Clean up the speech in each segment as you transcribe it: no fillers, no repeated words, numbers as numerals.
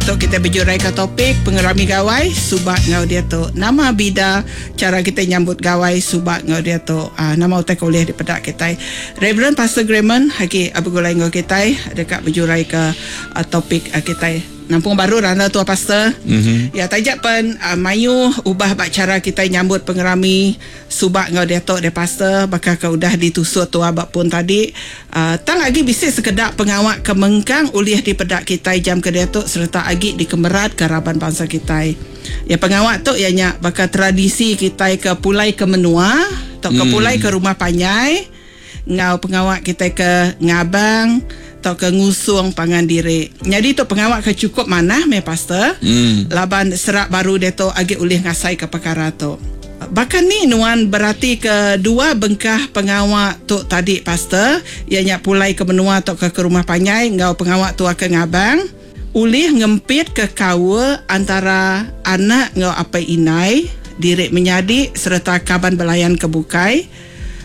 Diatu kitai bejuraika topik pengerami gawai suba enggau diatu. Nama bida chara kitai nyambut gawai suba enggau diatu? Aaa nama utai ke ulih dipeda kitai? Reverend Pastor Grahman agi begulai enggau kitai deka bejuraika topik kitai. Nampung baru randau tua pastor. Ya taja pen mayuh ubah ba chara kitai nyambut pengerami suba enggau diatu deh pastor baka ke udah ditusut tua ba pun tadi. Tang agi bisi sekeda pengawa ke mengkang ulih dipeda kitai jam ke diatu sereta agi dikemeratka raban bansa kitai. Ya pengawa tu iya nya baka tradisi kitai ke pulai ke menua tauka pulai ke rumah panjai. Enggau pengawa kitai ke ngabang tauka ngusung pangan diri. Nyadi tu pengawa ke chukup manah meh pastor laban serak baru diatu agi ulih ngasaika pekara tu. Baka ni nuan beratika dua bengkah pengawa tu tadi pastor iya nya pulai ke menua tauka ke rumah panjai enggau pengawa tua ke ngabang ulih ngempitka kaul antara anak enggau apai indai, diri menyadi sereta kaban belayan ke bukai.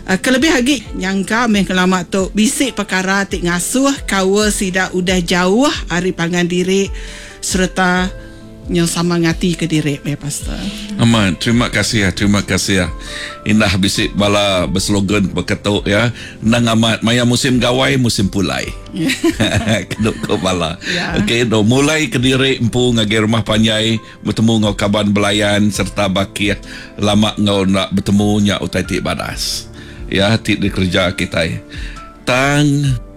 Kelebih agi nyangka meh ngelama tu bisi pekara ti ngasuh kaul sida udah jauh ari pangan diri sereta nyau sama ngatika diri meh pastor. Amat, terima kasih terima kasih. Indah bisi bala beslogan baka tu ya. Endang amat maya musim gawai musim pulai. Kenu ko bala. Okey tu mulai kediri empu ngagai rumah panjai. Betemu enggau kaban belayan sereta bakih lama enggau enda betemu nya utai ti badas iya ti dikereja kitai. Tang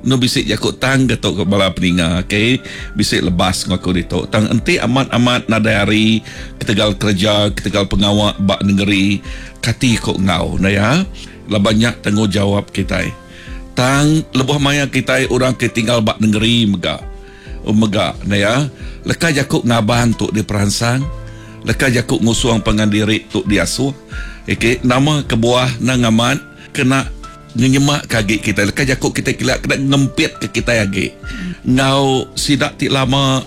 enu bisi jaku tang ke tu ke bala peninga okay bisi lebas enggau aku ditu tang enti amat amat nadai hari ketegal kereja ketegal pengawa ba nengeri kati ko enggau ne iya laban nya tanggungjawab kitai. Tang lebuh maya kitai orang ke tinggal ba nengeri mega. Mega ne iya, leka jaku ngabang tu diperansang, leka jaku ngusung pangan diri tu diasuh. Iki nama kebuah nang amat kena ngenyemak ke agi kitai leka jaku kitai kila kena ngempit ke kitai agi enggau sida ti lama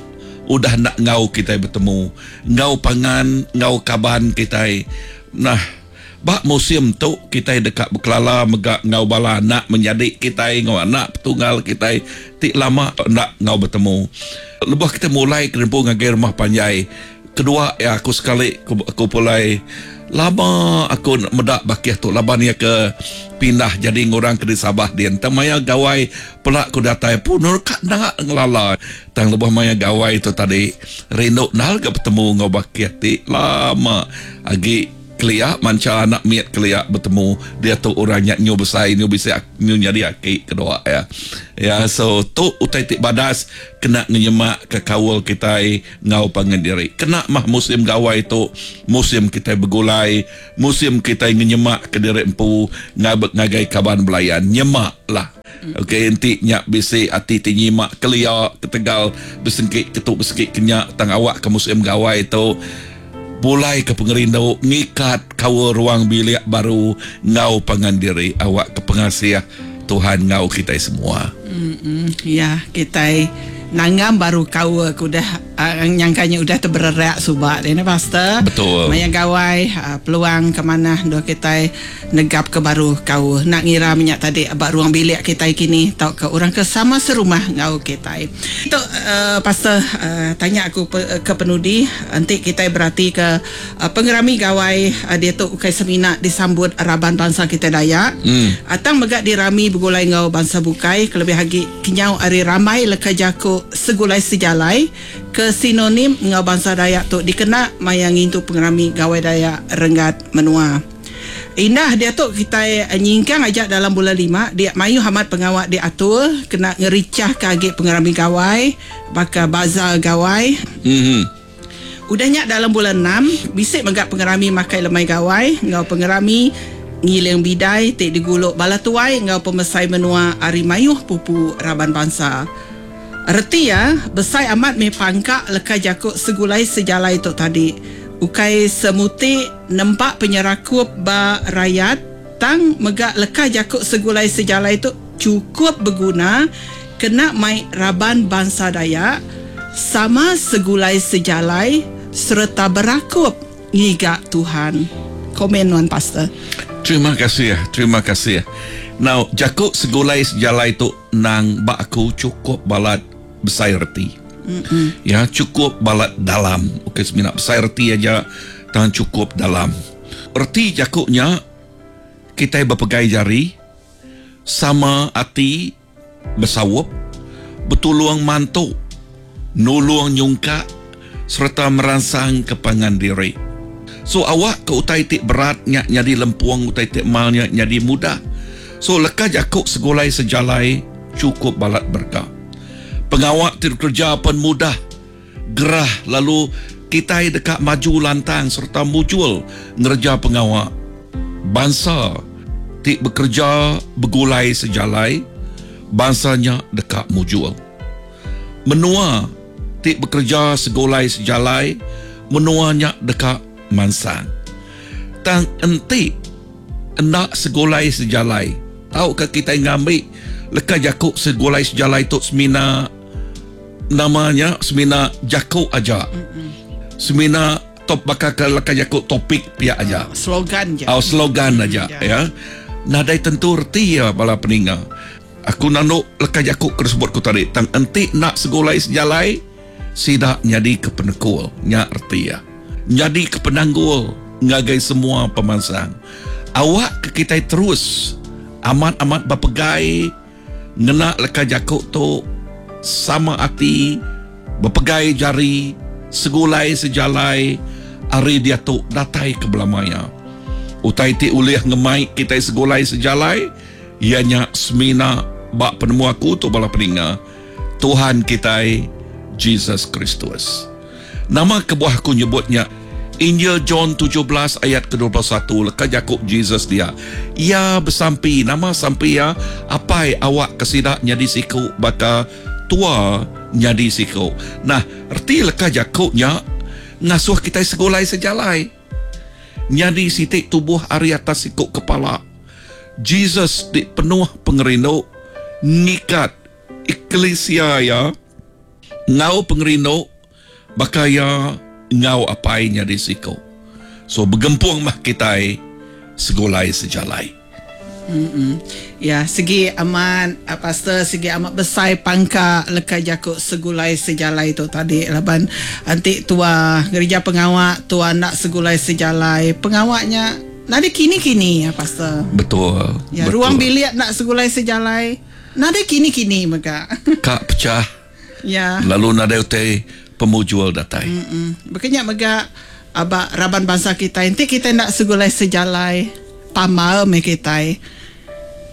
udah enda enggau kitai betemu enggau pangan enggau kaban kitai. Nah. Ba musim tu kitai deka bekelala mega enggau bala anak menyadi kitai enggau anak petunggal kitai ti lama enda enggau betemu. Lebuh kitai mulai ke nempu ngagai rumah panjai kedua iya aku sekali aku pulai lama aku meda bakih tu laban iya ke pindah jadi ngurang ke di Sabah din. Tang maya gawai pela ku datai pun ka enda ngelala. Tang lebuh maya gawai tu tadi rindu ndal ga betemu enggau bakih ti lama agi. Kelia mancha anak mit kelia betemu diatu orang nya nyu besai nyu bisi nyu nyadi aki kedua iya. Ya so tu utai ti badas kena ngenyemak ke kaul kitai enggau pangan diri. Kena mah musim gawai tu musim kitai begulai, musim kitai ngenyemak ke diri empu ngagai kaban belayan. Nyemak lah. Okey enti nya bisi ati ti nyimak kelia ketegal besengki ketu besengki ke nya tang awak ke musim gawai tu. Pulai ke pengerindu ngikat kaul ruang bilik baru enggau pangan diri awak ke pengasih Tuhan enggau kitai semua. Ya, kitai nanggam baru kaul ke udah nyangka nya udah tebererak suba deh ne pastor. Betul. Maya gawai peluang ke manah endur kitai negap ke baru kaul enda ngira menya tadi ba ruang bilik kitai kini tauka orang ke sama serumah enggau kitai. Tu pastor tanya aku ke penudi enti kitai beratika pengerami gawai diatu ukai semina disambut raban bansa kitai Dayak tang mega dirami begulai enggau bansa bukai kelebih agi kenyau ari rambai leka jaku segulai sejalai ke sinonim enggau bansa Dayak tu dikena maya ngintu pengerami Gawai Dayak renggat menua. Indah diatu kitai nyingkang aja dalam bulan lima dia mayuh amat pengawa diatur kena ngerichahka agi pengerami gawai baka bazar gawai. Udah nya dalam bulan enam bisi mega pengerami makai lemai gawai enggau pengerami ngiling bidai ti digulu bala tuai enggau pemesai menua ari mayuh pupu raban bansa. Reti iya, besai amat mih pangka leka jaku segulai sejalai tu tadi. Ukai semuti nempa penyerakup ba rayat tang mega leka jaku segulai sejalai tu chukup beguna kena mai raban bansa Dayak sama segulai sejalai sereta berakup ngiga Tuhan. Komen nuan pastor. Terima kasih, terima kasih. Now, jaku segulai sejalai tu endang ba aku chukup balat besai reti. Mm-mm. Ya, cukup balat dalam. Ukai semina besai reti aja tang cukup dalam. Reti jaku nya kitai bepegai jari sama ati besaup, betulung mantu, nulung nyungkak sereta meransangka pangan diri. So awak ke utai ti berat nya nyadi lempung utai ti mal nya nyadi mudah. So leka jaku segulai sejalai chukup balat berega. Pengawa ti dikereja pen mudah, gerah lalu kitai deka maju lantang sereta mujur ngereja pengawa. Bansa ti bekereja begulai sejalai, bansa nya deka mujur. Menua ti bekereja segulai sejalai, menua nya deka mansang. Tang enti enda segulai sejalai tauka kitai ngambi leka jaku segulai sejalai tu semina nama nya semina jaku aja. Semina top baka ke leka jaku topik pia aja. Slogan ja. Oh, slogan aja ya. Nadai tentu reti iya bala peninga. Aku nandu leka jaku ke disebut ku tadi tang enti enda segulai sejalai sida nyadi ke penekul nya reti iya. Nyadi ke penanggul ngagai semua pemansang. Awak ke kitai terus amat-amat bepegai ngena leka jaku tu sama ati bepegai jari segulai sejalai ari diatu datai ke belama iya. Utai ti ulih ngemai kitai segulai sejalai iya nya semina ba penemu aku tu bala peninga Tuhan kitai Jesus Kristus. Nama kebuah aku nyebut nya? Injil John 17 ayat ke 21 leka jaku Jesus dia. Iya besampi, nama sampi iya? Apai awak ke sida nyadi siku baka tua nyadi siku. Nah, reti leka jaku nya ngasuh kitai segulai sejalai. Nyadi siti tubuh ari atas siku kepala. Jesus ti penuh pengerindu ngikat eklisia iya enggau pengerindu baka iya enggau Apai nyadi siku. So begempung mah kitai segulai sejalai. Mm Ya, sigi amat pastor sigi amat besai pangka leka jaku segulai sejalai tu tadi laban enti tua ngereja pengawa tua enda segulai sejalai pengawa nya nadai kini-kini ya pastor. Betul. Ya, betul. Ruang bilik enda segulai sejalai nadai kini-kini mega. Ka pecah. Ya. Lalu nadai utai pemujur datai. Mm Baka nya mega aba raban bansa kitai enti kitai enda segulai sejalai pamar meh kitai.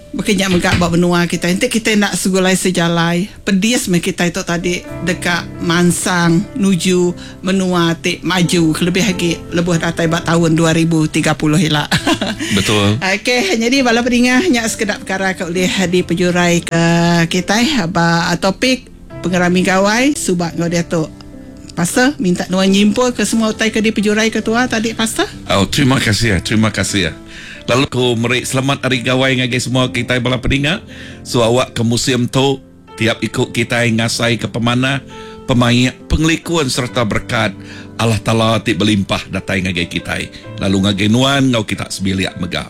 Baka nya mega ba menua kitai enti kitai enda segulai sejalai pedis meh kitai tu tadi deka mansang nuju menua ti maju kelebih agi lebuh datai ba taun 2030 ila. Betul. Okey nyadi bala peninga nya sekeda pekara ke ulih dipejurai ke kitai ba topik pengerami gawai suba enggau diatu. Pastor minta nuan nyimpul ke semua utai ke dipejurai ke tua tadi pastor. Oh terima kasih terima kasih. Lalu ku meri selamat hari gawai ngagai semua kitai bala peninga. So awak ke musim tu tiap iku kitai ngasai ke pemanah, pemaik, pengelikun sereta berekat Allah Taala ti belimpah datai ngagai kitai lalu ngagai nuan enggau kita sebilik mega.